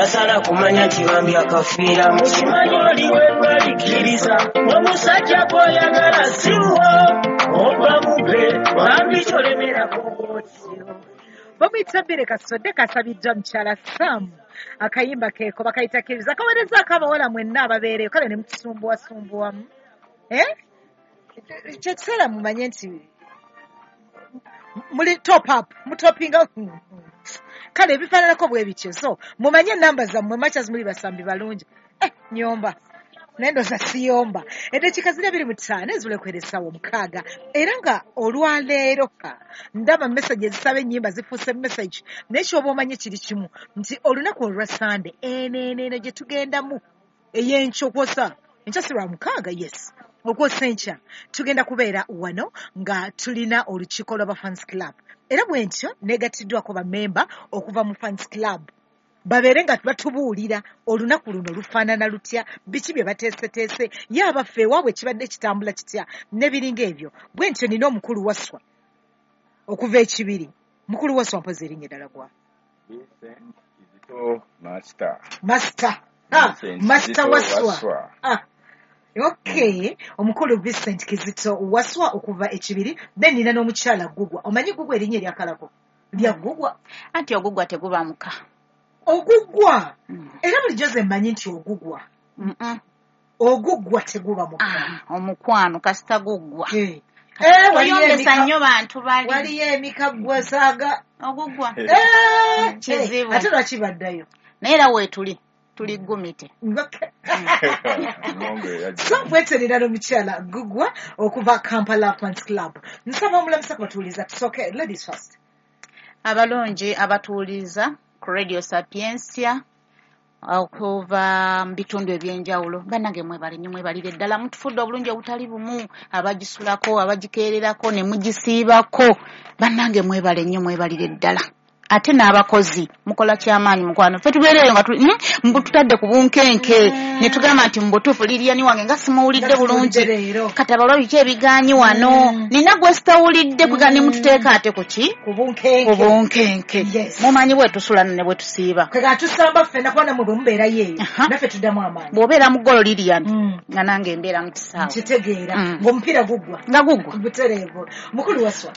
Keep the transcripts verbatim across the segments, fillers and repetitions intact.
Tasala kumanya nti bambi akafiira. Mukimanyi oli wekwalikiriza omusajja gw'oyagala siwo oba mube bambi kyolemerako bwotyo. Bamuyita Bbere Kasodde kasabiddwa mukyala Sam. Akayimba keeko bakayita Kkiriza. Kaweerezaako abawala mwenna ababeereyo kale ne mutusumbuwasumbuwamu. Eh? Kyekiseera mumanye nti muli top up, mutopinga. Kale ebifaananako bwe bityo. So mumanye ennamba zammwe machas muli basambi balungi. Eh, nyomba. Naye ndowooza siyomba. Eddakiika ziri abiri mu ttaano ezibula okuwera essaawa omukaaga. Era nga olwaleero ndaba message ezisaba ennyimba zifuuse message. Naye ky'oba omanye kiri kimu nti olunaku olwa Sande eno eno eno gye tugendamu ey'enkya okwosa enkya si lwa mukaaga, yes, okwosa enkya tugenda kubeera wano nga tulina olukiiko lw'aba fans club. Era bwe ntyo neegattiddwako bammemba okuva mu fans club babeere nga batubuulira olunaku luno lufaanana lutya, biki bye bateeseteese, ye abaffe ewaabwe kibadde kitambula kitya n'ebiringa ebyo. Bwe ntyo nina omukulu Waswa okuva ekibiri. Mukulu Waswa mpozi erinnya eddala gwa? Vincent Kizito Master. Master. Ah, Vincent Master Kizito Waswa. Waswa. Ah. Okay, omukulu Vincent Kizito Waswa okuva ekibiri. Then nina n'omukyala Gugwa. Omanyi Gugwa erinnya eryakalako? Lya Gugwa. Anti ogugwa teguba muka. Ogugwa. Mm. Era bulijjo nze mmanyi nti ogugwa. Mm -mm. Ogugwa teguba muka. Ah, omukwano kasita guggwa. Eh. Eh, waliyo Oyombesa emika- nnyo bantu bali. Waliyo emika ggwe saaga. Ogugwa. Eh, Kizibu. ate lwaki baddayo? Naye era weetuli tuli gumite. Okay. Mungu yajja. So bweterera n'omukyala Gugwa okuva Kampala Fans Club. Nsaba omulamusa kubatuuliza. Tusooke ladies first. Abalungi abatuuliza ku Radio Sapientia okuva mu bitundu ebyenjawulo, bannange mwebale nnyo, mwebalire ddala, mutufudde obulungi obutali bumu, abagisulako, abagikeererako ne mugisiibako, bannange mwebale nnyo, mwebalire ddala. Ate n'abakozi mukola kyamaanyi mukwano. Ffe tubeereyo nga tuli- mm, tutadde ku bunkenke ne tugamba nti mu butuufu Lilian wange nga simuwulidde Nga bulungi. simuwulidde leero. Kati abalwa biki ebigaanyi wano? Mm. Nina gwe sitawulidde kuga ne mututeeka ate ku ki? Ku bunkenke. Ku bunkenke. Yes. Mumanyi bwe tusula ne bwe tusiiba. Kwe tusamba ffenna kuba nammwe bwe mubeerayo eyo Aha. naffe tuddamu amaanyi. Bw'obeera mu ggolo Lilian Mm. nga nange mbeera mu kisaawe. Nkitegeera Mm. ng'omupiira guggwa. Nga guggwa. Butereevu. Mukulu Waswa,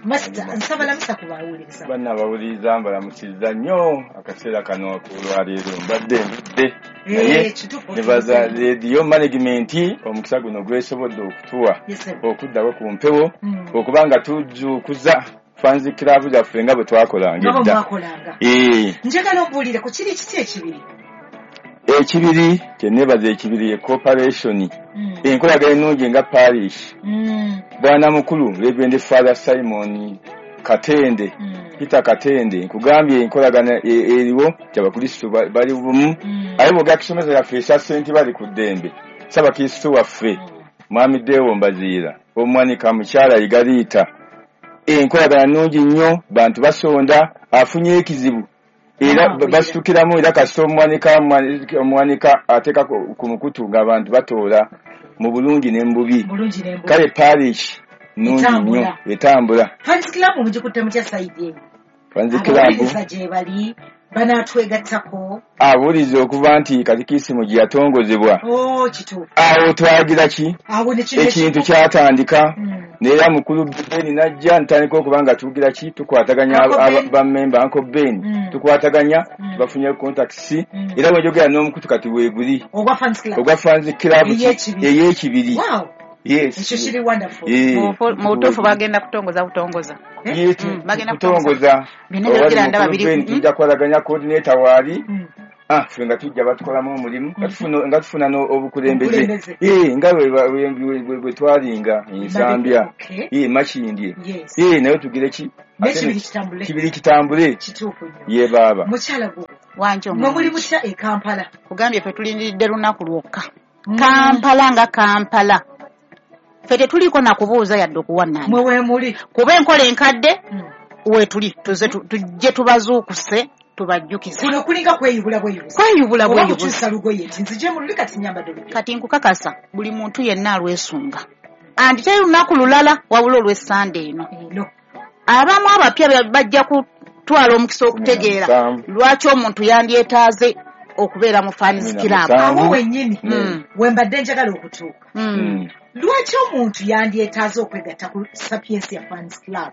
Master, nsaba lamusa ku bawuliriza. Banna abawuliriza mbalamusizza nnyo akaseera kano akolwaleero mbadde ndudde naye Eh, kituufu. nebaza radio management omukisa guno gwesobodde okutuwa Yes, sir. okuddako ku mpewo Mm. okuba nga tujuukuza fans club zaffe nga bwe twakolanga Nga bwe edda. mwakolanga. Eh, Njagala ombuulire ku kiri kiti ekibiri. Ekibiri kyenebaza ekibiri ye corporation Mm. enkolagana ennungi nga parish. Mm. Bwana mukulu Reverend Father Simon Katende, Mm. Peter Katende, nkugambye enkolagana e- eriwo nti abakristo ba- bali bumu. Mm. Aye bw'ogera ku ssomero yaffe esya Ssenti bali ku ddembe, Ssaabakristo waffe Mwami Deo Mbaziira, omwanika mukyala Igaliita, enkolagana nnungi nnyo, bantu basonda, afunye ekizibu era Ah, basitukiramu, era kasita omwanika omwanika ateeka ku ku mukutu ng'abantu batoola mu bulungi ne mu bubi. Bulungi ne mbubi. Kale parish nnungi nnyo Etambula. etambula. Fans club mugikutte mutya sayidi eyo? Fans club Abawuliriza gye bali banaatwegattako. Abuuliza okuva nti katikisimu gye yatongozebwa. Oh, kituufu. Awo twagira ki? Awo ne kino Ekintu kyatandika. Mm. Neera mukulu Ben najja ntandika okuba nga tugira ki tukwataganya Uncle Ben. bammemba Uncle Ben Mm. tukwataganya Mm. tubafunye contacts Mm. era bwe njogera n'omukutu kati weeguli Ogwa fans club. ogwa fans club ki- Ey'ekibiri. ey'ekibiri. Wow. Yes. Ekyo kiri wonderful. Eh, Mu bufu- mu butuufu bagenda kutongoza butongoza. Eh? Ye, tu- Mm, bagenda kutongoza. Byonna Owali byogera ndaba mukulu biri- Ben mm. tujja kukolaganya coordinator waali. Mm. Ah, ffe nga tujja batukolamu omulimu nga tufuna nga tufuna no- obukulembeze. Obukulembeze. Eh, nga bwe bwe- bwe- bwe- bwe twalinga ensambya. Okay. Eh, Makindye. Yes. Eh, naye tugire ki? N'ekibiri kitambule. Kibiri kitambule. Kituufu nnyo. Ye baaba. Mukyala gwe. Wanje Mwe muli omulungi. mutya e Kampala? Kugambye ffe tulindiridde lunaku lwokka. Kampala nga Kampala. Ffe tetuliiko na kubuuza yadde okuwannaana. Mwe weemuli. Kuba enkola enkadde Mm. weetuli tuze tu- tujje tubazuukuse tubajjukize. Kuno kulinga kweyubula bweyubuzi. Kweyubula Oba bweyubuzi. kukyusa lugoye nti nzije mu luli kati nnyambadde olupya. Kati nkukakasa buli muntu yenna alwesunga. Anti teri lunaku lulala wabula olw'essande eno. Eno. Abamu abapya bajja kutwala omukisa okutegeera Musanvu. lwaki omuntu yandyetaaze okubeera mu fans club. Awo wennyini we mbadde njagala okutuuka. Lwaki omuntu yandyetaaze okwegatta ku Sapientia Fans Club?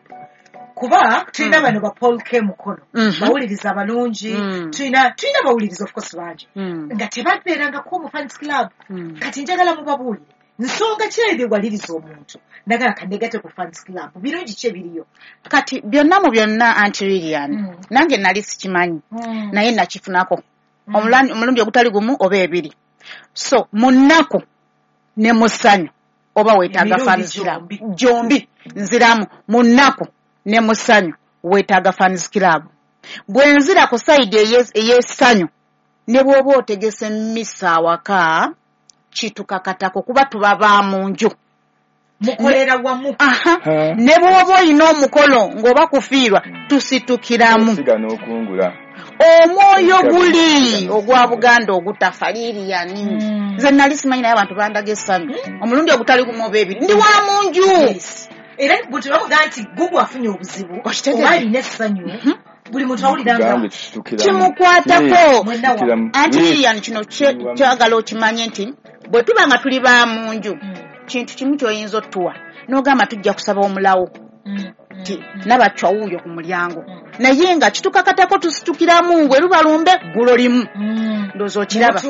Kuba tulina bano ba Paul K Mukono, bawuliriza abalungi, tulina tulina bawuliriza of course bangi nga tebabeerangako mu fans club. Kati njagala mubabuulire nsonga ki ebiwaliriza omuntu nagala kanegatte ku fans club, birungi ki ebiriyo? Kati byonna mu byonna Aunty Lilian, nange nali sikimanyi, naye nakifunako omulundi ogutali gumu oba ebiri. So mu nnaku ne mu ssanyu oba weetaaga fans club gyombi, nziramu mu nnaku ne mu ssanyu weetaaga fans club. Bwe nzira ku sayidi ey'essanyu ne bw'oba otegese mmisa awaka kitukakatako kuba tuba ba mu nju, mukolera wamu. Ne bw'oba olina omukolo ng'oba kufiirwa tusitukiramu. Omwoyo guli ogwa Buganda ogutafa Lilian. Nze nali simanyi naye abantu bandaga essanyu omulundi ogutali gumu oba ebiri, ndi wa mu nju. Era bwe bavuga nti Gugu afunye obuzibu oba alina essanyu, buli muntu awulira nga kimukwatako. Aunty Lilian, kino kyagala okimanye nti bwe tuba nga tuli ba mu nju, kintu kimu ky'oyinza otuwa n'ogamba tujja kusaba omulawo nti nabacwa wuuyo ku mulyango, naye nga kitukakatako tusitukiramu bwe luba lumbe ggulo limu. Ndowooza okiraba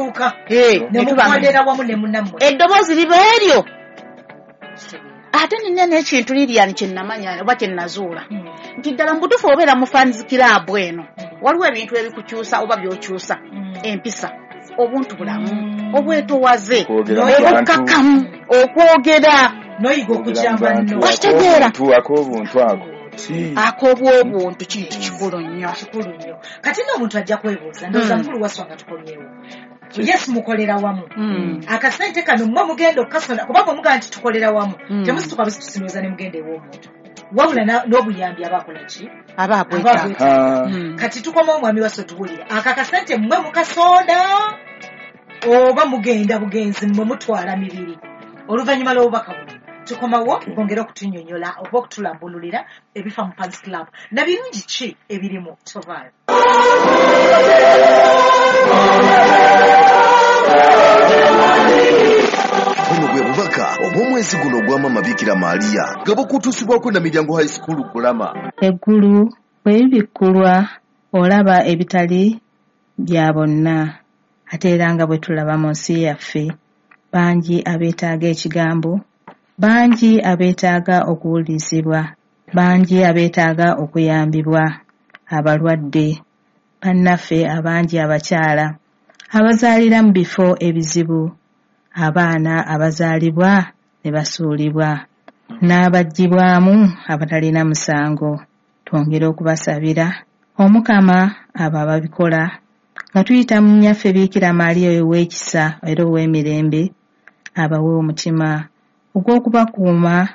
eddoboozi liba eryo. Ate nina n'ekintu Lilian kye nnamanya oba kye nnazuula nti ddala mu butuufu obeera mu fans club eno waliwo ebintu ebikukyusa oba by'okyusa, empisa, obuntu bulamu, obwetowaze, obukkakkamu, okwogera n'oyiga okujamba nno. Okitegeera ak'obuntu ako ak'obwobuntu kintu kikulu nnyo. Kikulu nnyo. Kati nno omuntu ajja kwebuuza, ndowooza mukulu Wasswa nga tukomyewo. Yes, mukolera wamu. Akasente kano mmwe mugenda okukasona, kuba bwe mugamba nti tukolera wamu, temusituka busitusinooza ne mugenda ew'omuntu. Wabula n'obuyambi aba akola ki? Aba abwetaaga. Kati tukomawo omwami Wasswa tubuulire, aka akasente mmwe mukasonda oba mugenda bugenzi mmwe mutwala mibiri? Oluvannyuma lw'obubaka buno tukomawo bongere okutunnyonnyola oba okutulambululira ebifa mu fans club na birungi ki ebirimu. Tovaayo. Buno bwe bubaka obw'omwezi guno ogwa Maama Bikira Maria nga bukutuusibwako na Miryango High School Kulama. Eggulu bwe libikkulwa olaba ebitali bya bonna, ate era nga bwe tulaba mu nsi yaffe bangi abeetaaga ekigambo, bangi abeetaaga okuwulirizibwa, bangi abeetaaga okuyambibwa, abalwadde, bannaffe abangi abakyala abazaalira mu bifo ebizibu, abaana abazaalibwa ne basuulibwa, n'abaggyibwamu abatalina musango. Twongere okubasabira Omukama abo ababikola nga tuyita mu nnyaffe Bikira Maria ow'ekisa era ow'emirembe, abawe omutima ogw'okubakuuma,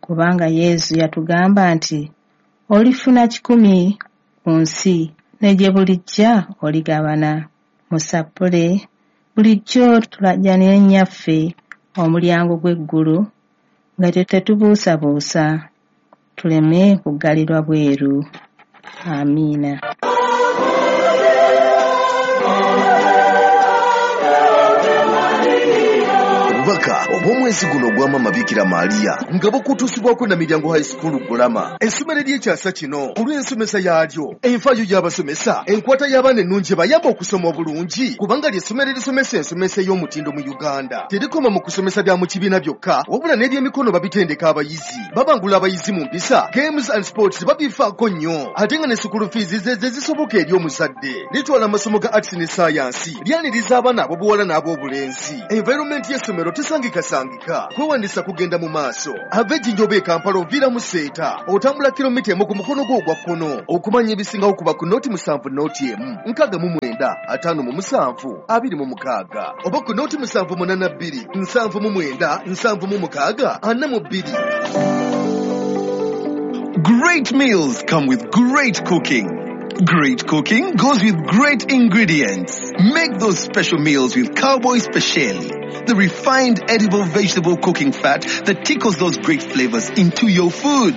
kubanga Yesu yatugamba nti olifuna kikumi ku nsi ne gye bulijja oligabana. Musappule bulijjo tulajjanire nnyaffe omulyango gw'eggulu nga tetubuusabuusa, tuleme kuggalirwa bweru. Amiina. Obubaka obw'omwezi guno ogwa Maama Bikira Maria nga bukutuusibwako na Miryango High School Kulama, essomero ery'ekyasa kino olw'ensomesa yaalyo, enfaayo y'abasomesa, enkwata y'abaana ennungi bayamba okusoma obulungi, kubanga ly'essomero erisomesa ensomesa ey'omutindo mu Uganda. Terikoma mu kusomesa bya mu kibiina byokka, wabula n'ebyemikono babitendeka abayizi, babangula abayizi mu mpisa, games and sports babifaako nnyo, ate nga ne school fees ze ze zisoboka eri omuzadde. Litwala amasomo ga arts ne science, lyaniriza abaana ab'obuwala n'ab'obulenzi. Environment y'essomero tesangikasangika, kwewandisa kugenda mu maaso. Ava Ejjinja oba e Kampala oviira mu Seeta, otambula kilomita emu ku mukono gwo ogwa kkono. Okumanya ebisingawo kuba ku nooti musanvu nooti emu nkaaga mu mwenda ataano mu musanvu abiri mu mukaaga oba ku nooti musanvu munaana bbiri nsanvu mu mwenda nsanvu mu mukaaga ana mu bbiri. Great meals come with great cooking. Great cooking goes with great ingredients. Make those special meals with Cowboy Speciale, the refined edible vegetable cooking fat that tickles those great flavors into your food.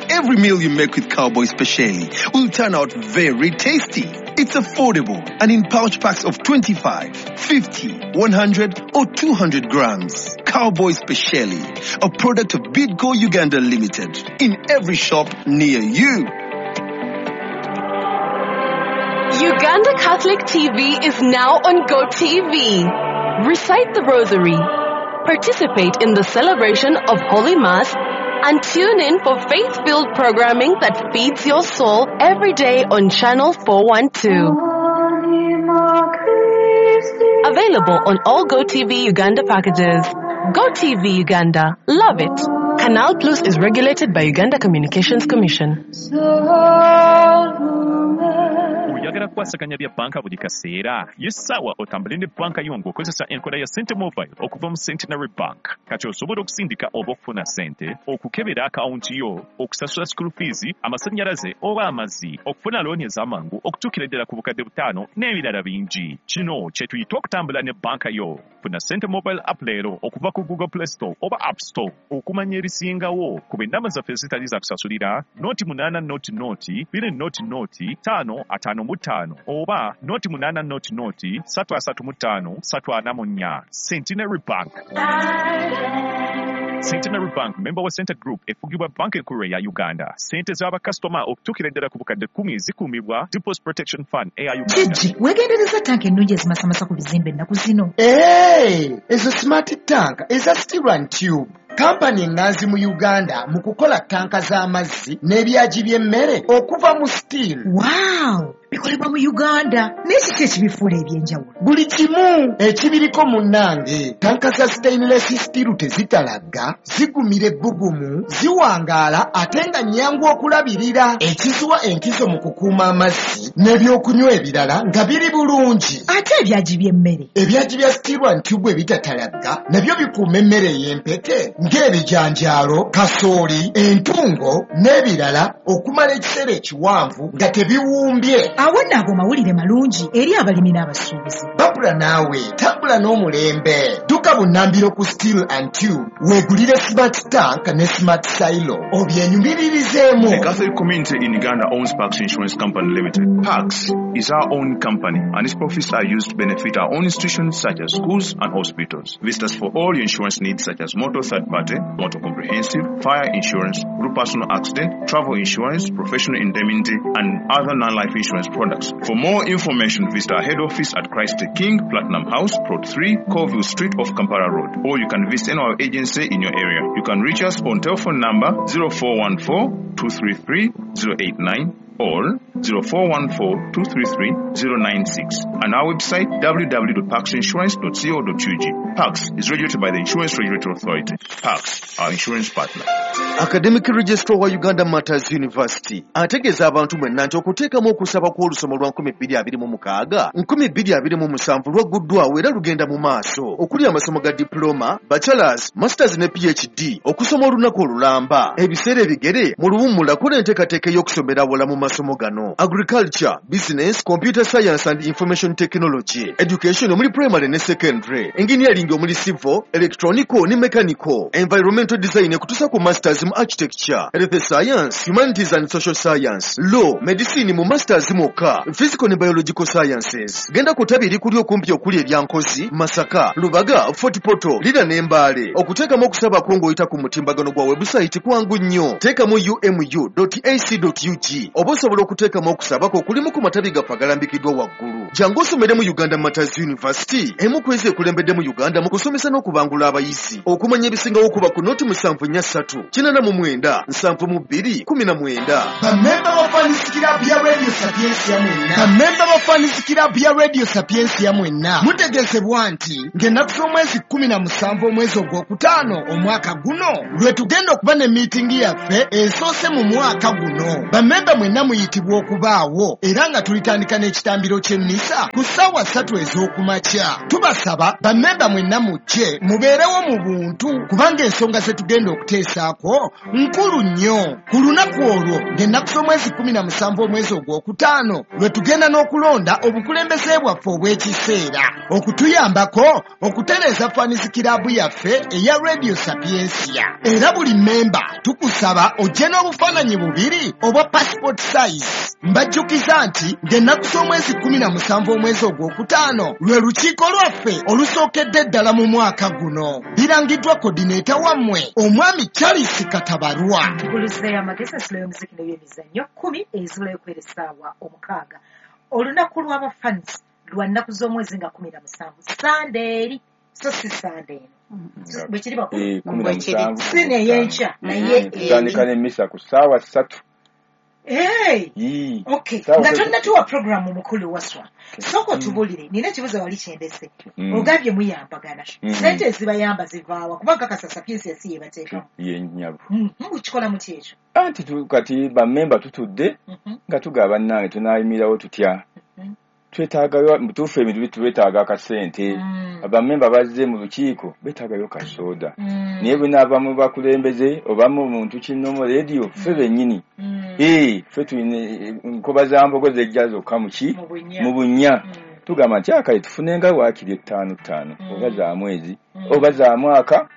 Every meal you make with Cowboy Speciale will turn out very tasty. It's affordable and in pouch packs of twenty-five, fifty, one hundred or two hundred grams. Cowboy Speciali, a product of Bidco Uganda Limited, in every shop near you. Uganda Catholic T V is now on GoTV. Recite the Rosary, participate in the celebration of Holy Mass, and tune in for faith-filled programming that feeds your soul every day on Channel four one two. Available on all GoTV Uganda packages. GoTV Uganda. Love it. Canal Plus is regulated by Uganda Communications Commission. Oyagala kukwasaganya bya banka buli kaseera. Ye ssaawa otambule ne banka yo ng'okozesa enkola ya Sente Mobile okuva mu Centenary Bank. Kati osobola okusindika oba okufuna ssente, okukebera akawunti yo, okusasula school fees, amasannyalaze oba amazzi, okufuna looni ez'amangu, okutuukira ddala ku bukadde butaano n'ebirala bingi. Kino kye tuyita okutambula ne banka yo. Funa Sente Mobile app leero okuva ku Google Play Store oba App Store. Okumanya ebisingawo kuba ennamba zaffe ezitali za kusasulira noti munaana noti noti bbiri noti noti ttaano ataano mu ttaano oba noti munaana noti noti ssatu asatu mu ttaano ssatu ana mu nnya. Centenary Bank. Centenary Bank, member wa Center Group, efugibwa banka enkulu eya Uganda. Ssente z'abakasitoma okutuukira ddala ku bukadde kkumi zikuumibwa Deposit Protection Fund eya Uganda. Gigi, weegendereza tanka ennungi ezimasamasa ku bizimbe ennaku zino. Ee, ezo smart tank eza steel and tube. Kampani enganzi mu Uganda mu kukola tanka z'amazzi n'ebyagi by'emmere okuva mu steel. Wow! Bikolebwa mu Uganda. Naye kiki ekibifuula eby'enjawulo? Buli kimu ekibiriko munnange. Tanka za stainless steel tezitalagga, zigumira ebbugumu, ziwangaala ate nga nnyangu okulabirira. Ekiziwa enkizo mu kukuuma amazzi n'ebyokunywa ebirala nga biri bulungi. Ate ebyagi by'emmere? Ebyagi bya steel and tube ebitatalagga nabyo bikuuma emmere ey'empeke ng'ebijanjaalo, kasooli, entungo n'ebirala okumala ekiseera ekiwanvu nga tebiwumbye. Awo nno ago mawulire malungi eri abalimi n'abasuubuzi. Babula naawe, tambula n'omulembe. Dduka bunnambiro ku Steel and Tube, weegulire smart tank ne smart silo obyenyumiririzeemu. The Catholic community in Uganda owns Pax Insurance Company Limited. Pax is our own company and its profits are used to benefit our own institutions such as schools and hospitals. Visit us for all your insurance needs such as motor third party, motor comprehensive, fire insurance, group personal accident, travel insurance, professional indemnity, and other non-life insurance products. For more information, visit our head office at Christ the King, Platinum House, Plot three, Colville Street off Kampala Road, or you can visit any of our agency in your area. You can reach us on telephone number zero four one four, two three three, zero eight nine or zero four one four, two three three, zero nine six and our website w w w dot pax insurance dot co dot u g. Pax is regulated by the Insurance Regulatory Authority. Pax, our insurance partner. Academic Registrar wa Uganda Martyrs University ategeeza abantu mwenna nti okuteekamu okusaba kw'olusoma lwa nkumi bbiri abiri mu mukaaga nkumi bbiri abiri mu musanvu lwagguddwawo era lugenda mu maaso okuli amasomo ga diploma, bachelors, masters ne PhD okusoma olunaku olulamba ebiseera ebigere mu luwummula kola enteekateeka ey'okusomera awala mu masomo gano: agriculture, business, computer science and information technology, education omuli primary ne secondary, engineering omuli civil, electronical ne mechanical, environmental design ekutuusa ku masters mu architecture, health science, humanities and social science, law, medicine mu masters mwokka, physical ne biological sciences. Genda ku ttabi erikuli okumpi okuli erya Nkozi, Masaka, Lubaga, Fort Portal, Lira ne Mbale. Okuteekamu okusaba kwo ng'oyita ku mutimbagano gwa website kwangu nnyo. Teekamu u m u dot a c dot u g oba osobola okuteekamu okusaba kwo okulimu ku matabi gaffe agalambikiddwa waggulu. Jangu osomere mu Uganda Martyrs University, emu ku ezo ekulembedde mu Uganda mu kusomesa n'okubangula abayizi. Okumanya ebisingawo kuba ku noti musanvu nnya ssatu kinaana mu mwenda nsanvu mu bbiri kumi na mwenda. Bamemba ba Fans Club ya Radio Sapientia mwenna. Bamemba ba Fans Club ya Radio Sapientia mwenna. Mutegeezebwa nti ng'ennaku z'omwezi kkumi na musanvu omwezi ogwokutaano omwaka guno lwe tugenda okuba ne miitingi yaffe esoose mu mwaka guno. Bamemba mwenna muyitibwa okubaawo era nga tulitandika n'ekitambiro ky'emmisa ku ssaawa ssatu ez'okumakya. Tubasaba bamemba mwenna mujje mubeerewo mu buntu kubanga ensonga ze tugenda okuteesaako nkulu nnyo. Ku lunaku olwo ng'ennaku z'omwezi kkumi na musanvu omwezi ogwokutaano lwe tugenda n'okulonda obukulembeze bwaffe obw'ekiseera okutuyambako okutereeza Fans Club yaffe eya Radio Sapientia. Era buli memba tukusaba ojje n'obufaananyi bubiri obwa passport size. size. Mbajjukiza nti ng'ennaku z'omwezi kkumi na musanvu omwezi ogwokutaano lwe lukiiko lwaffe olusookedde ddala mu mwaka guno. Birangiddwa kodineeta wammwe omwami Charles Katabarwa. Nkuluzeeyo amagezi ensula y'omuziki n'ebyemizannyo kkumi ezibulayo okubeera essaawa omukaaga. Olunaku lw'abafans lwa nnaku z'omwezi nga kkumi na musanvu Sande eri, so si Sande eno. Bwe kiri bakulu? Eh, kumi na musanvu. Si n'ey'enkya, naye Tutandika n'emmisa ku ssaawa ssatu. Hey! Yii. Okay, Ssaawa nga ssatu. tonnatuwa programu mukulu Waswa. Sooka otubuulire, nina ekibuuzo wali kyendese. Mm. Ogambye muyambagana. Mm. Ssente ezibayamba zivaawa kuba nkakasa Sapientia si yebateekamu. Ye nnyabo. Mhm, mukikola mutya ekyo? Anti tu- kati bammemba tutudde Mhm. nga tugaba bannange tunaayimirawo tutya. Mhm. Twetaagayo mu butuufu ebintu bitu twetaaga akasente. Mm. Abammemba bazze mu lukiiko beetaagayo kasooda. Mm. Naye bwe naava mu bakulembeze oba mu muntu kinnomu leediyo ffe bennyini. Mm. Ee, ffe tulina nkoba za mbogo zejja zokka mu ki? Mu bunnya. Mu bunnya. Mm. Tugamba nti akale tufunenga waakiri ettaano ttaano Mm. oba za mwezi Mm. oba za mwaka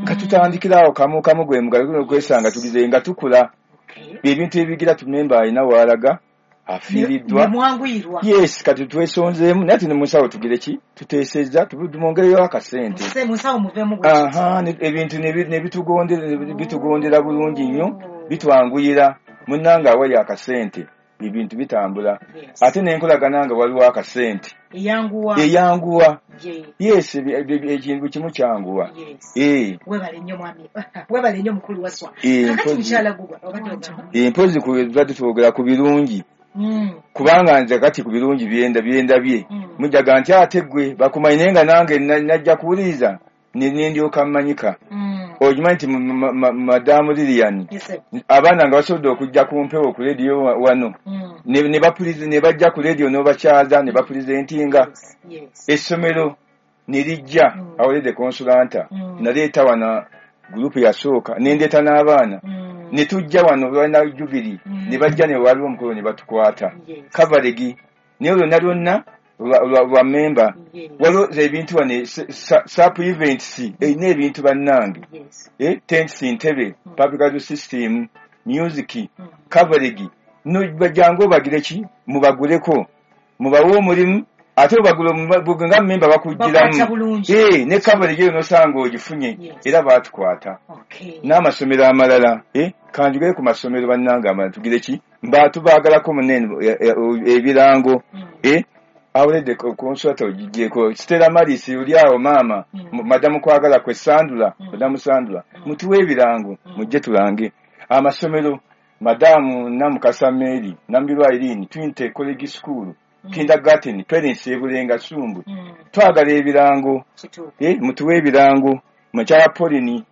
nga Mm. tutandikira awo kamu kamu gwe mugalo okwesanga tugize nga tukula. Okay. Ebintu ebigira tumemba alina waalaga afiiriddwa. Ne mwanguyirwa. Yes, kati twesonzeemu naye tuli mu nsawo tugire ki? Tuteesezza tumwongereyo akasente. Muse mu nsawo muveemu bwe kiti. Aha, ne- ebintu ne bi- ne bitugondera ne bitugondera bulungi nnyo, bitwanguyira. Munnange awali akasente ebintu bitambula. Yes. Ate n'enkolagana nga waliwo akasente Eyanguwa. eyanguwa. Ye. Yes, ebi- ebi- ekintu kimu kyanguwa. Yes. Eh, Webale nnyo mwami. Webale nnyo mukulu Waswa. Eh, Kakati mpozi- mukyala Gugwa obadde ogamba. eh, mpozi ku tubadde twogera ku birungi. Mm. Kubanga nze kati ku birungi byenda byendabye. Mm. Mujaga nti ate ggwe bakumanyi naye nga nange na- najja kuwuliriza ne ne ndyoka mmanyika. Mm. Okimanyi nti ma- ma- Madamu Lilian Yes, sir. abaana nga basobodde okujja ku mpewo ku leediyo wa- wano Mm. ne ne bapulizi ne bajja ku leediyo n'obakyaza ne bapulizentinga Yes. Yes. essomero ne lijja Mm. awulidde konsulanta Mm. naleeta wano gurupu yasooka ne ndeeta n'abaana Mm. ne tujja wano lwalina jubiri Mm. ne bajja ne waliwo omukolo ne batukwata Yes. kavalegi naye lwonna lwonna lwa- lwa lwa memba Yes. waliwo ebintu wano sap events erina ebintu bannange Yes. eh, tents ntebe Mm. public address system music Mm. coverage no bajangu obagire ki mubaguleko mubawe omulimu ate obagule omu- nga memba Bakwata bakugiramu bulungi. eh, ne coverage eyo nosanga ogifunye Yes. era baatukwata Okay. n'amasomero amalala eh, kanjugere ku masomero bannange amalala tugire ki mba tubaagalako munene eh, eh, ebirango Mm. eh, awuledde konsulata ogigyeko Stella Maris oli awo maama Mm. mu- madamu kwagala kwe Sandula Mm. madamu Sandula Mm. mutuwe ebirango Mm. mujje tulange amasomero madamu Namukasa Mary Nambirwa Irene Twinte College School Mm. kindergarten parents ebulenga Sumbu Mm. twagala ebirango Kituufu. eh, mutuwe ebirango mukyala Pauline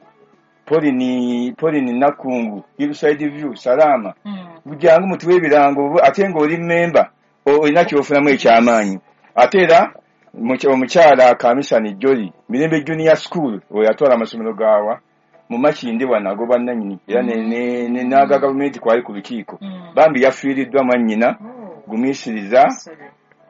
Pauline Pauline Nakungu Hillside View Salama Mm. bujangu mutuwe ebirango ate ng'oli memba olina kyofunamu ekyamaanyi ate era muky- omukyala Kamisani Jolly Mirembe Junior School oyo atwala amasomero gaawa mu Makindye wano agoba nnannyini era ne- ne- ne- n'aga gavumenti kwali ku lukiiko Mm. bambi yafiiriddwa mwannyina Oh. gumiisiriza Sorry.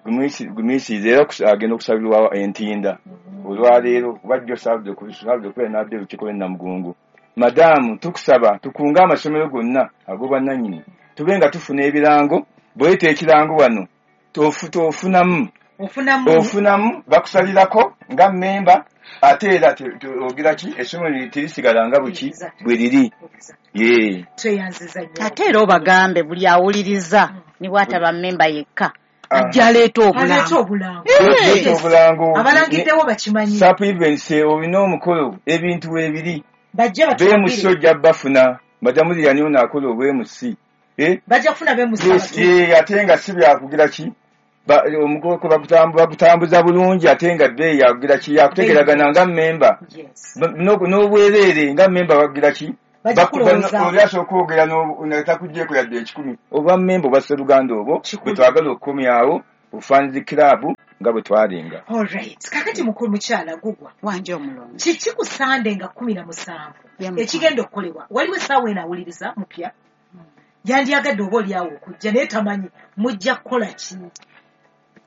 gumiisi- gumiisiriza era okusa- agenda okusabirwa entinda Mm. olwaleero kuba jjo saabudde okubeera n'adde olukiiko lw'e Namugongo madaamu tukusaba tukunge amasomero gonna ag'obwannannyini tube nga tufuna ebirango bw'oleeta ekirango wano tofu- tofunamu Ofunamu. ofunamu bakusalirako nga mmemba ate era te- te- ogira ki essomero terisigala nga buki Exactly. bwe liri Exactly. ye Tweyanziza nnyo. Ate era obagambe buli awuliriza ne bw'ataba mmemba yekka ajja aleeta Aleeta obulango. obulango. Leeta Yes. obulango Abalangiddewo bakimanyi. sap events olina omukolo ebintu weebiri Bajje beemusi batuwagire. ojja bafuna madamu Lilian ono akola obwemusi Eh? Bajja kufuna beemusi Yes, abatuufu. eh, ate nga si byakugira ki Ba- omukolo bagutambu- bagutambuza bulungi ate nga bbeeyi yakugira ki yakutegeragana nga mmemba Yes. Ba- n'obu- n'obwereere nga mmemba bakugira ki Bajja Baku- kulowoozaako. oli asooka okwogera n'obu- nga takugyeko yadde ekikumi oba mmemba oba sseruganda obwo Kikulu. bwe twagala okukomyawo bufaanizi kiraabu nga bwe twalinga Alright. Kakati mukulu mukyala Gugwa. Wanje omulongo. Kiki ku Sande nga kkumi na musanvu Ye mukulu. ekigenda okukolebwa? Waliwo essaawa eno awuliriza mupya yandyagadde oba oliawo okujja naye tamanyi mujja kukola ki?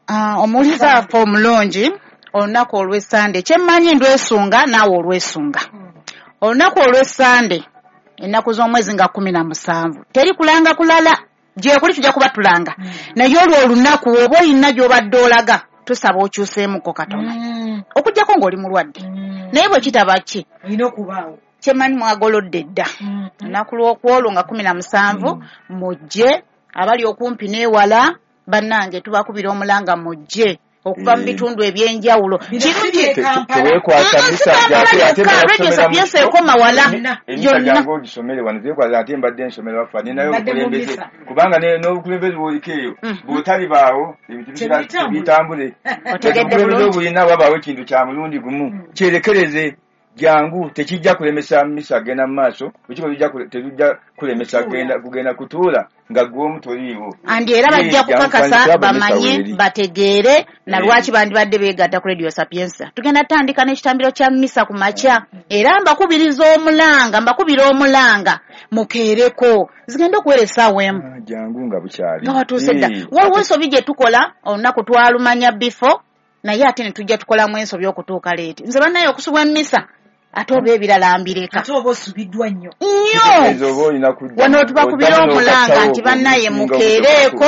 Ah, omuwuliza waffe omulungi olunaku olw'essande kyemmanyi ndwesunga naawe olwesunga olunaku olw'essande ennaku z'omwezi nga kkumi na musanvu teri kulanga kulala Gyekuli tujja kuba tulanga. Naye olwo olunaku oba olina gy'obadde olaga tusaba okyuseemuko katono. Okuggyako ng'oli mulwadde. Naye bwe kitaba ki? Olina okubaawo. Kyemanyi mwagolodde dda. Olunaku lw'okwolwo nga kumi na musanvu mujje abali okumpi n'ewala bannange tubakubira omulanga mujje okuva mu bitundu ebyenjawulo. Kirungi teweekwasa misa gyate ate Radio Sapientia ekoma wala emisa gyange ogisomere wano teweekwasa ate mbadde nsomera waffe ninayo obukulembeze kubanga n'obukulembeze bw'oliko eyo bw'otalibaawo ebintu bitambule. Obukulembeze obulina wabaawo ekintu kya mulundi gumu kyerekereze jangu tekijja kulemesa misa genda mu maaso ekiko tejja kulemesa genda kugenda kutuula nga gwe omu toliiwo. Andi era bajja kukakasa bamanye bategeere na lwaki bandibadde beegatta ku Radio Sapientia. Tugenda tandika n'ekitambiro kya misa ku makya era mbakubiriza omulanga mbakubira omulanga mukeereko zigenda okuwera essaawa emu jangu nga bukyali nga watuuse dda. Waliwo ensobi gye tukola olunaku twalumanya before naye ate ne tujja tukolamu ensobi okutuuka leeti. Nze bannaye okusubwa emmisa ate oba ebirala mbireka. Ate oba osubiddwa nnyo. Nnyo! Wano tubakubira omulanga nti bannaye mukeereeko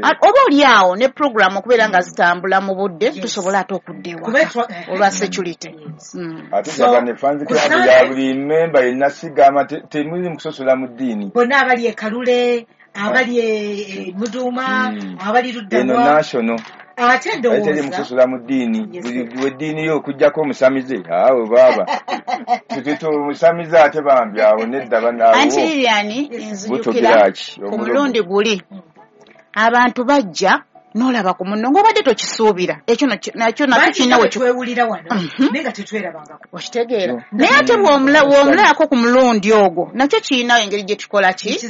oba oli awo ne puroguramu okubeera nga zitambula mu budde tusobole ate okudda ewaka olwa security. Ate njagala ne fans club ya buli memba yenna sigamba temuli mu kusosola mu ddiini. Bonna abali e Kalule, abali e Muduuma, abali Luddabwa. Eno national. Ate ndowooza teri mukusosola mu ddiini buli weddiini yo okuggyako omusamize awo baaba tututu omusamize ate bambi awo nedda banaawo. Anti Lilian nzijukira ku mulundi guli abantu bajja n'olaba ku munno ng'obadde tokisuubira ekyo nakyo nakyo kirina we twewulira wano naye nga tetwerabangako okitegeera. Naye ate bw'omulabako ku mulundi ogwo nakyo kirina engeri gye tukola ki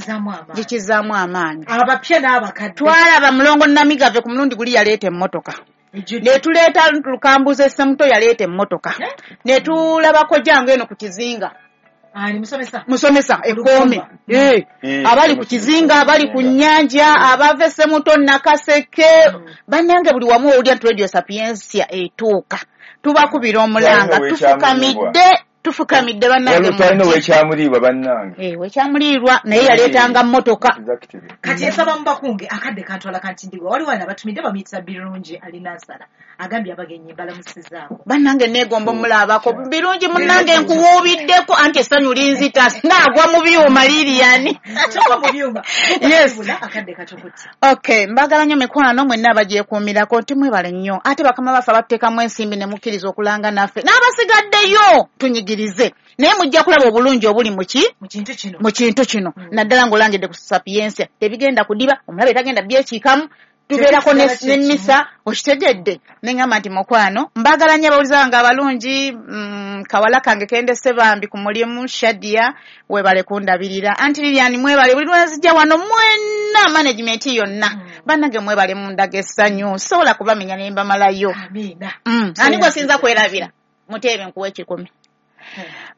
gye kizaamu amaanyi. Abapya n'abakadde twalaba Mulongo Namigave ku mulundi guli yaleeta emmotoka ne tuleeta Lukambuze Ssemuto yaleeta emmotoka ne tulabako jangu eno ku kizinga ani musomesa musomesa ekkoome eh abali ku kizinga abali ku nnyanja abava Ssemuto Nakaseke bannange buli wamu owulira nti Radio Sapientia etuuka tubakubira omulanga tufukamidde tufukamidde bannange twalina owekyamuliibwa bannange eh wekyamuliirwa naye yaleetanga mmotoka. Kati nsaba mubakunge akadde kantwala kantindirwa waliwo wano abatumidde bamuyitisa Birungi alina nsala agambye abagenyi mbalamusizzaako bannange neegomba omulabako Birungi munnange nkuwuubiddeko anti essanyu linzita naagwa mu byuma Lilian kyokka mu byuma yes akadde katukutte. Okay mbagala nnyo mikwano mwenna abagyekuumirako nti mwebale nnyo ate bakama baffe abatuteekamu ensimbi ne mukkiriza okulanga naffe n'abasigaddeyo tunyigirize naye mujja kulaba obulungi obuli mu ki mu kintu kino naddala ng'olangidde ku Sapientia tebigenda kudiba omulabe tagenda byekiikamu tubeerako n'emmisa okitegedde ne ŋŋamba nti mukwano mbaagala nnyo abawuliza bange abalungi kawala kange kendese bambi ku mulimu Shadia weebale kundabirira Anti Lilian mwebale buli lwenzijja wano mwenna management yonna bannange mwebale mundaga essanyu sobola kubamenya ne mbamalayo. Amiina. Ani gwe sinza kwerabira muteebe nkuwa ekikumi.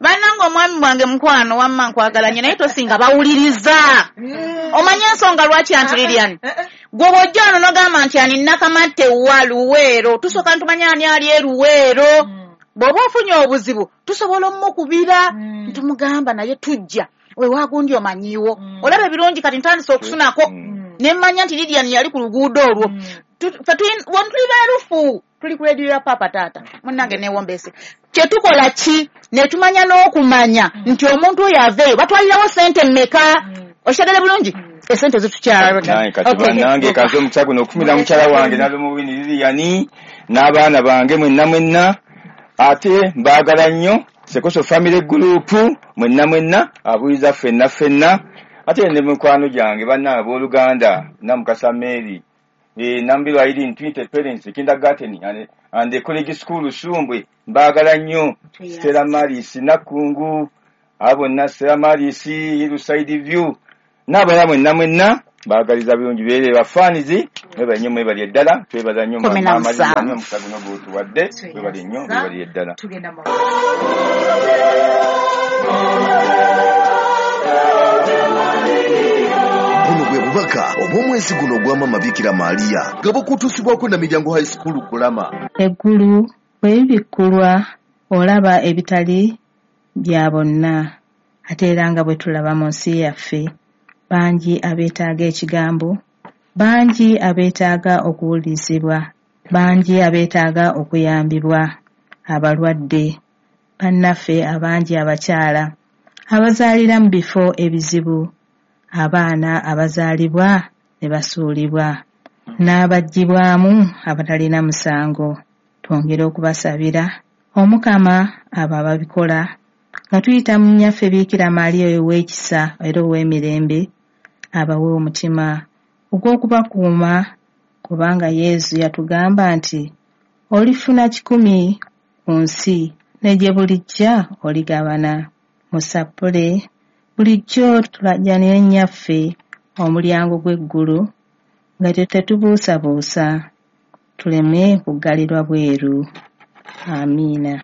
Bannange omwami bwange mukwano wamma nkwagala nnyo naye tosinga bawuliriza. Omanye ensonga lwaki Anti Lilian gwe bw'ojja wano n'ogamba nti ani Nakamatte wa Luweero tusooka ntumanya ani ali e Luweero bw'oba ofunye obuzibu tusobola omukubira ntumugamba naye tujja wewagundi omanyiiwo olaba ebirungi kati ntandise okusunako ne mmanya nti Lilian yali ku luguudo olwo ffe tuli beerufu tuli ku rediyo ya Papa Taata munnange neewombese kye tukola ki ne tumanya n'okumanya nti omuntu oyo aveeyo batwalirawo ssente mmeka okitegere bulungi esente zitukyala. Kati bannange kaze omukisa guno okufumira mukyala wange Nalumuwini Lilian n'abaana bange mwenna mwenna ate mbaagala nnyo Sekoso Family Group mwenna mwenna abuuliza ffenna ffenna ate ne mikwano gyange banna abooluganda Namukasa Mary Nambirwa Irene Twinte Parents Kindergarten and, and the College School Sumbwe mbaagala nnyo Stella Maris Nakungu abo bonna Stella Maris Hillside View n'abalala mwenna mwenna baagaliza birungi beere bafaanizi mwebale nnyo mwebali eddala twebaza nnyo omukisa guno gw'otuwadde mwebale nnyo mwebali eddala. Buno bwe bubaka obw'omwezi guno ogwa Maama Bikira Maria nga bukutuusibwako Namiryango High School Kulama. Eggulu bwe bibikkulwa olaba ebitali bya bonna ate era nga bwe tulaba mu nsi yaffe Bangi abeetaaga ekigambo, bangi abeetaaga okuwulirizibwa, bangi abeetaaga okuyambibwa, abalwadde, bannaffe abangi abakyala abazaalira mu bifo ebizibu, abaana abazaalibwa ne basuulibwa, n'abaggyibwamu abatalina musango. Twongere okubasabira Omukama abo ababikola nga tuyita mu nnyaffe Biikira Maria oyo ow'ekisa era ow'emirembe, abawe omutima ogw'okubakuuma, kubanga Yesu yatugamba nti olifuna kikumi ku nsi ne gye bulijja oligabana. Musappule bulijjo tulajjanire nnyaffe omulyango gw'eggulu nga tetubuusabuusa, tuleme kuggalirwa bweru. Amiina.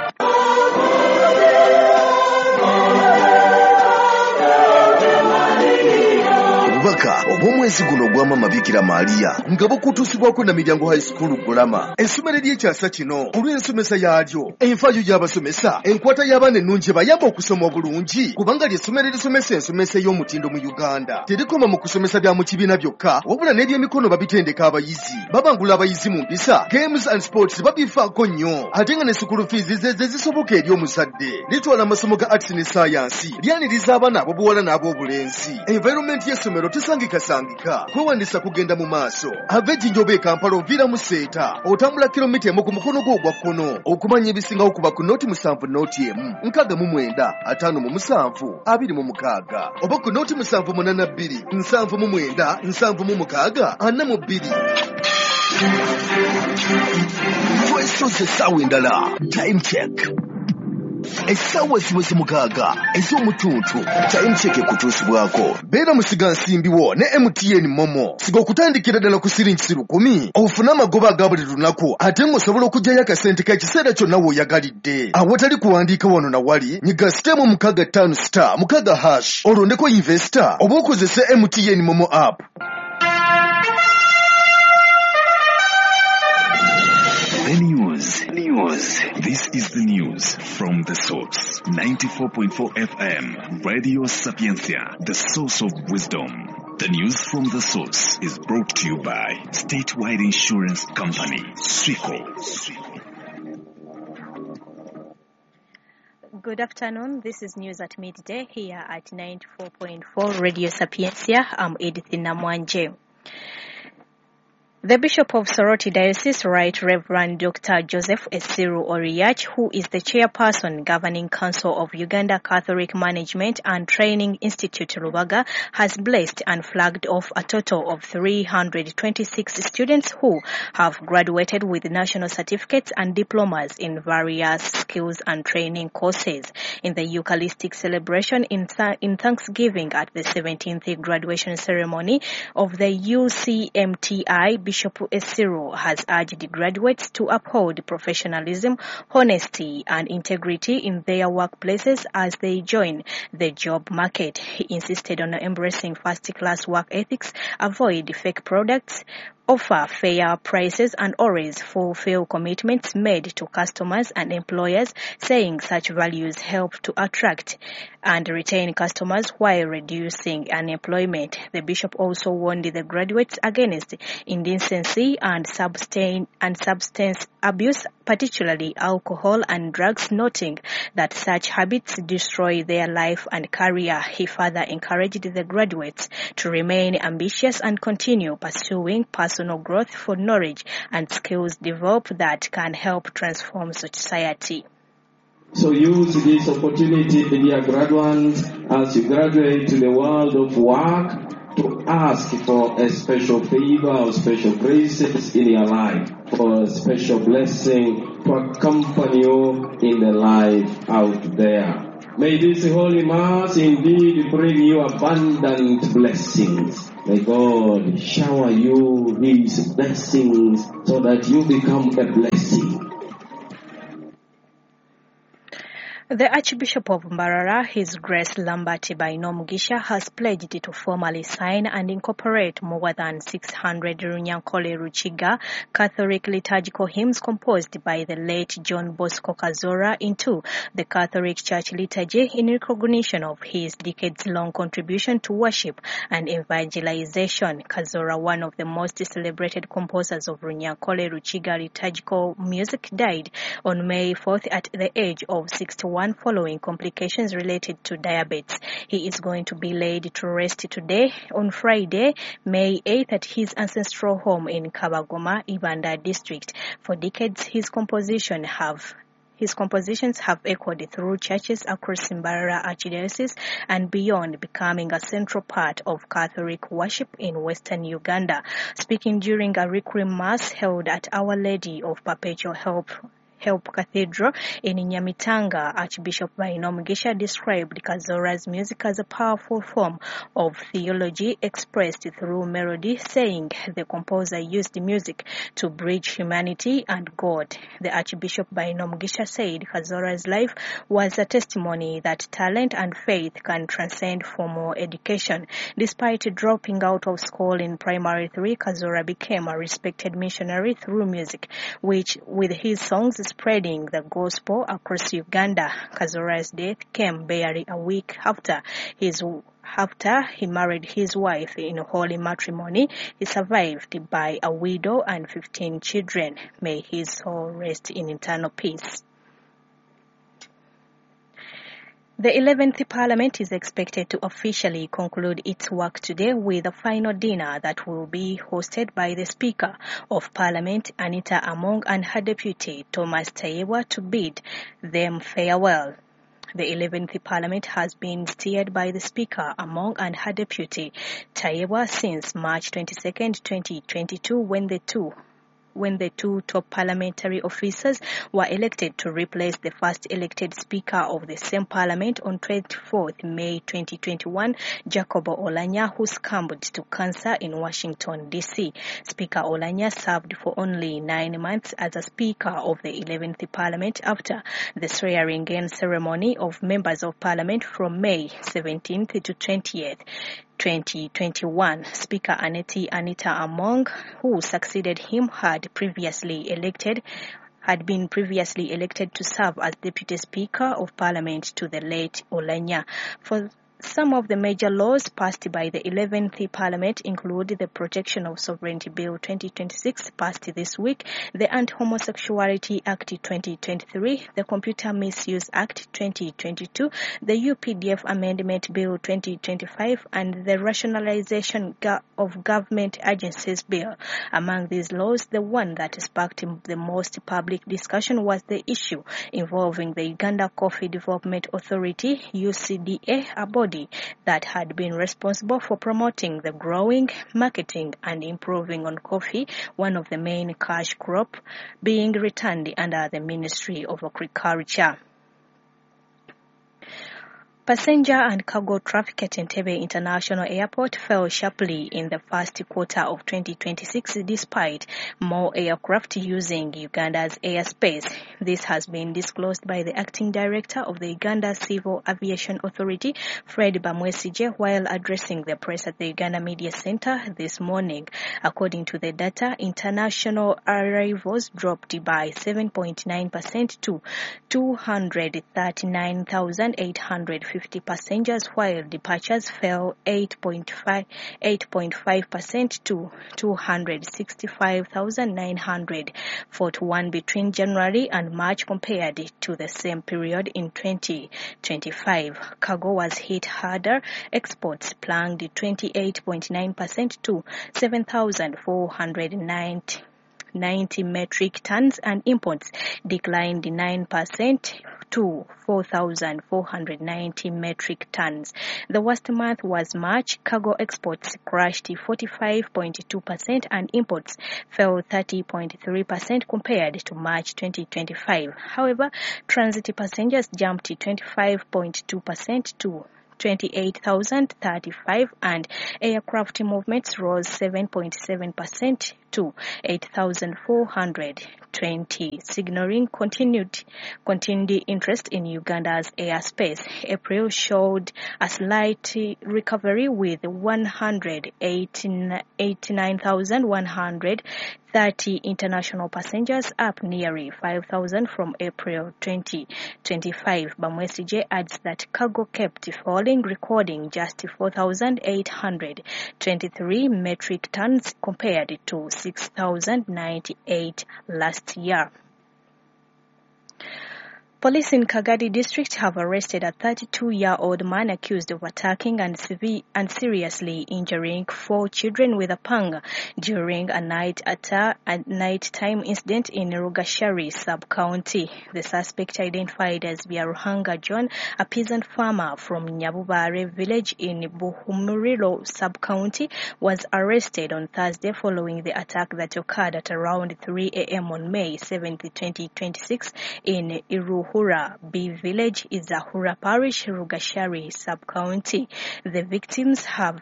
Obubaka obw'omwezi guno ogwa Maama Biikira Maria nga bukutuusibwako Namiryango High School Gulama, essomero ery'ekyasa kino olw'ensomesa yaalyo, enfaayo y'abasomesa, enkwata y'abaana ennungi ebayamba okusoma obulungi, kubanga ly'essomero erisomesa ensomesa ey'omutindo mu Uganda. Terikoma mu kusomesa bya mu kibiina byokka, wabula n'ebyemikono babitendeka abayizi, babangula abayizi mu mpisa, games and sports babifaako nnyo, ate nga ne school fees ze ze zisoboka eri omuzadde. Litwala amasomo ga arts ne science, lyaniriza abaana ab'obuwala n'ab'obulenzi. Environment y'essomero tesangikasangika, kwewandiisa kugenda mu maaso. Ava Ejjinja oba e Kampala oviira mu Seeta, otambula kilomita emu ku mukono gwo ogwa kkono. Okumanya ebisingawo kuba ku nooti musanvu nooti emu nkaaga mu mwenda ataano mu musanvu abiri mu mukaaga oba ku nooti musanvu munaana bbiri nsanvu mu mwenda nsanvu mu mukaaga ana mu bbiri. Twesoze essaawa endala. Time check. Essaawa ziweze mukaaga ez'omutuntu. Time check ekutuusibwako. Beera musigansimbi wo ne M T N Momo. Siga okutandikira ddala ku siringi lukumi ofune amagoba aga buli lunaku, ate ng'osobola okuggyayo akasente k'ekiseera kyonna w'oyagalidde. Awatali kuwandiika wano na wali, nyiga sitemu mukaaga ttaano star mukaaga hash olondeko investor oba okozese M T N Momo app. The news. News. This is the news from the source. ninety-four point four F M, Radio Sapientia, the source of wisdom. The news from the source is brought to you by Statewide Insurance Company, SWICO. Good afternoon. This is News at Midday here at ninety-four point four Radio Sapientia. I'm Edith Namwanje. The Bishop of Soroti Diocese, Right Reverend Doctor Joseph Esiru Oriach, who is the chairperson Governing Council of Uganda Catholic Management and Training Institute Rubaga, has blessed and flagged off a total of three hundred twenty-six students who have graduated with national certificates and diplomas in various skills and training courses. In the Eucharistic celebration in, th- in Thanksgiving at the seventeenth graduation ceremony of the U C M T I, Bishop Esiru has urged the graduates to uphold professionalism, honesty and integrity in their workplaces as they join the job market. He insisted on embracing first-class work ethics, avoid fake products, offer fair prices and always fulfill commitments made to customers and employers, saying such values help to attract and retain customers while reducing unemployment. The bishop also warned the graduates against indecency and substain and substance abuse, particularly alcohol and drugs, noting that such habits destroy their life and career. He further encouraged the graduates to remain ambitious and continue pursuing personal growth for knowledge and skills developed that can help transform society. So use this opportunity, dear graduates, as you graduate to the world of work, to ask for a special favor or special graces in your life, for a special blessing to accompany you in the life out there. May this Holy Mass indeed bring you abundant blessings. May God shower you His blessings so that you become a blessing. The Archbishop of Mbarara, His Grace Lambert Bainomugisha, has pledged to formally sign and incorporate more than six hundred Runyankole Rukiga Catholic liturgical hymns composed by the late John Bosco Kazoora into the Catholic Church liturgy in recognition of his decades-long contribution to worship and evangelization. Kazoora, one of the most celebrated composers of Runyankole Rukiga liturgical music, died on May fourth at the age of sixty-one following complications related to diabetes. He is going to be laid to rest today on Friday, May eighth, at his ancestral home in Kabagoma, Ibanda district. For decades, his composition have His compositions have echoed through churches across Mbarara Archdiocese and beyond, becoming a central part of Catholic worship in Western Uganda. Speaking during a Requiem Mass held at Our Lady of Perpetual Help Help Cathedral in Nyamitanga, Archbishop Bainomugisha described Kazoora's music as a powerful form of theology expressed through melody, saying the composer used music to bridge humanity and God. The Archbishop Bainomugisha said Kazoora's life was a testimony that talent and faith can transcend formal education. Despite dropping out of school in primary three, Kazoora became a respected missionary through music, which, with his songs, spreading the gospel across Uganda. Kazoora's death came barely a week after his after he married his wife in holy matrimony. He survived by a widow and fifteen children. May his soul rest in eternal peace. The eleventh Parliament is expected to officially conclude its work today with a final dinner that will be hosted by the Speaker of Parliament, Anita Among, and her deputy, Thomas Tayebwa, to bid them farewell. The eleventh Parliament has been steered by the Speaker, Among, and her deputy, Tayebwa, since March twenty-second, twenty twenty-two, when the two when the two top parliamentary officers were elected to replace the first elected Speaker of the same Parliament on twenty-fourth May twenty twenty-one, Jacob Oulanyah, who succumbed to cancer in Washington, D C. Speaker Oulanyah served for only nine months as a Speaker of the eleventh Parliament after the swearing-in ceremony of members of Parliament from May seventeenth to twentieth. twenty twenty-one. Speaker Aneti Anita Among, who succeeded him, had previously elected had been previously elected to serve as Deputy Speaker of Parliament to the late Oulanyah. For some of the major laws passed by the eleventh Parliament include the Protection of Sovereignty Bill twenty twenty-six, passed this week, the Anti-Homosexuality Act twenty twenty-three, the Computer Misuse Act twenty twenty-two, the U P D F Amendment Bill twenty twenty-five, and the Rationalization of Government Agencies Bill. Among these laws, the one that sparked the most public discussion was the issue involving the Uganda Coffee Development Authority, U C D A, a body that had been responsible for promoting the growing, marketing and improving on coffee, one of the main cash crop, being returned under the Ministry of Agriculture. Passenger and cargo traffic at Entebbe International Airport fell sharply in the first quarter of twenty twenty-six despite more aircraft using Uganda's airspace. This has been disclosed by the acting director of the Uganda Civil Aviation Authority, Fred Bamwesigye, while addressing the press at the Uganda Media Center this morning. According to the data, international arrivals dropped by seven point nine percent to two hundred thirty-nine thousand eight hundred fifty passengers, while departures fell eight point five percent to two hundred sixty-five thousand nine hundred forty-one between January and March compared to the same period in twenty twenty-five. Cargo was hit harder. Exports plunged twenty-eight point nine percent to seven thousand four hundred ninety metric tons and imports declined nine percent to four thousand four hundred ninety metric tons. The worst month was March. Cargo exports crashed forty-five point two percent and imports fell thirty point three percent compared to March twenty twenty-five. However, transit passengers jumped twenty-five point two percent to twenty-eight thousand thirty-five and aircraft movements rose seven point seven percent to eight thousand four hundred twenty, signaling continued, continued interest in Uganda's airspace. April showed a slight recovery with one hundred eighty-nine thousand one hundred thirty international passengers, up nearly five thousand from April twenty twenty-five. Bamwesigye adds that cargo kept falling, recording just four thousand eight hundred twenty-three metric tons compared to six thousand ninety-eight last year. Police in Kagadi district have arrested a thirty-two-year-old man accused of attacking and, severe, and seriously injuring four children with a pang during a night atta- a nighttime incident in Rugashari sub-county. The suspect, identified as Byaruhanga John, a peasant farmer from Nyabubare village in Buhumuriro sub-county, was arrested on Thursday following the attack that occurred at around three a.m. on May seventh, twenty twenty-six in Iruhura B village, Izahura Parish, Rugashari sub-county. The victims have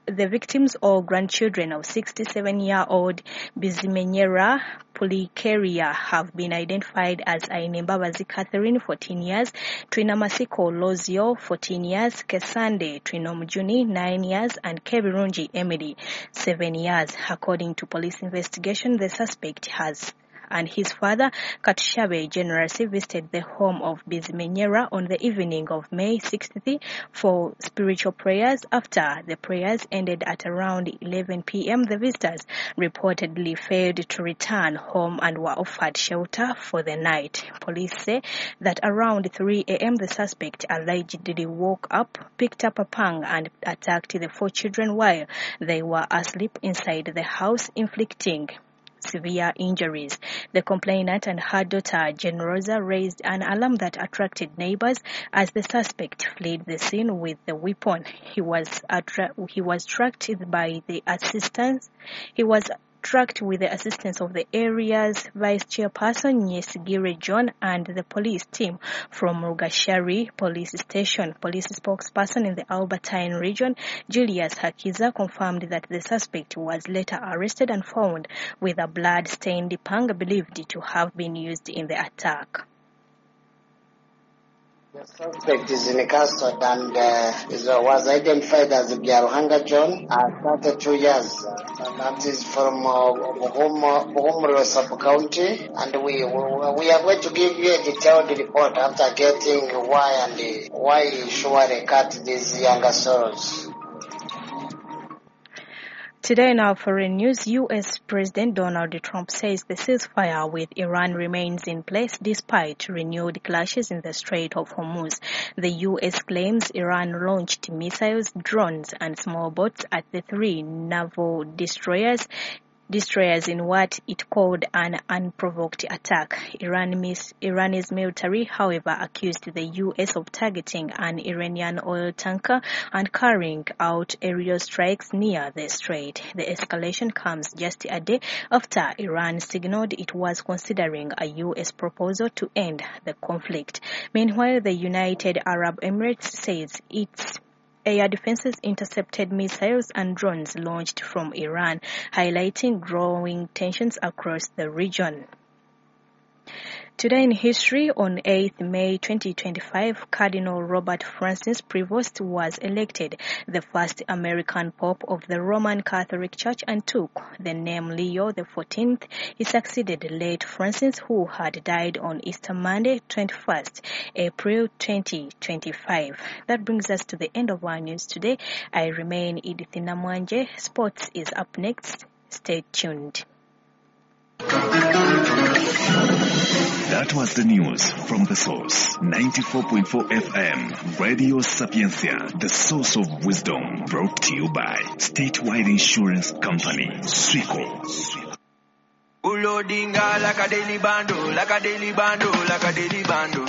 the victims or grandchildren of sixty-seven-year-old Bizimenyera Pulikeria have been identified as Ainembabazi Catherine, fourteen years, Twinamasiko Lozio, fourteen years, Kesande Twinomujuni, nine years, and Kebirungi Emily, seven years. According to police investigation, the suspect has and his father, Katushabe Generously, visited the home of Bizimenyera on the evening of May sixth for spiritual prayers. After the prayers ended at around eleven p.m., the visitors reportedly failed to return home and were offered shelter for the night. Police say that around three a.m., the suspect allegedly woke up, picked up a pang, and attacked the four children while they were asleep inside the house, inflicting severe injuries. The complainant and her daughter, Generosa, raised an alarm that attracted neighbors as the suspect fled the scene with the weapon. He was attra- he was tracked by the assistance. He was tracked with the assistance of the area's vice chairperson, Nyesigire John, and the police team from Rugashari Police Station. Police spokesperson in the Albertine region, Julius Hakiza, confirmed that the suspect was later arrested and found with a blood-stained pang believed to have been used in the attack. The suspect is in custody and uh, is, uh, was identified as Byaruhanga John, uh, thirty-two years. Uh, that is from uh, Buhumuriro sub-county, and we, we we are going to give you a detailed report after getting why and uh, why he surely cut these younger souls. Today in our foreign news, U S President Donald Trump says the ceasefire with Iran remains in place despite renewed clashes in the Strait of Hormuz. The U S claims Iran launched missiles, drones, and small boats at the three naval destroyers destroyers in what it called an unprovoked attack. Iran mis- Iran's military, however, accused the U S of targeting an Iranian oil tanker and carrying out aerial strikes near the strait. The escalation comes just a day after Iran signaled it was considering a U S proposal to end the conflict. Meanwhile, the United Arab Emirates says its air defenses intercepted missiles and drones launched from Iran, highlighting growing tensions across the region. Today in history, on eighth May twenty twenty-five, Cardinal Robert Francis Prevost was elected the first American Pope of the Roman Catholic Church and took the name Leo the fourteenth. He succeeded late Francis, who had died on Easter Monday, twenty-first April twenty twenty-five. That brings us to the end of our news today. I remain Edith Namwanje. Sports is up next. Stay tuned. That was the news from the source, ninety-four point four F M, Radio Sapientia, the source of wisdom, brought to you by Statewide Insurance Company, SWICO. Ulodinga like a daily bando, like a daily bando, like a daily bando.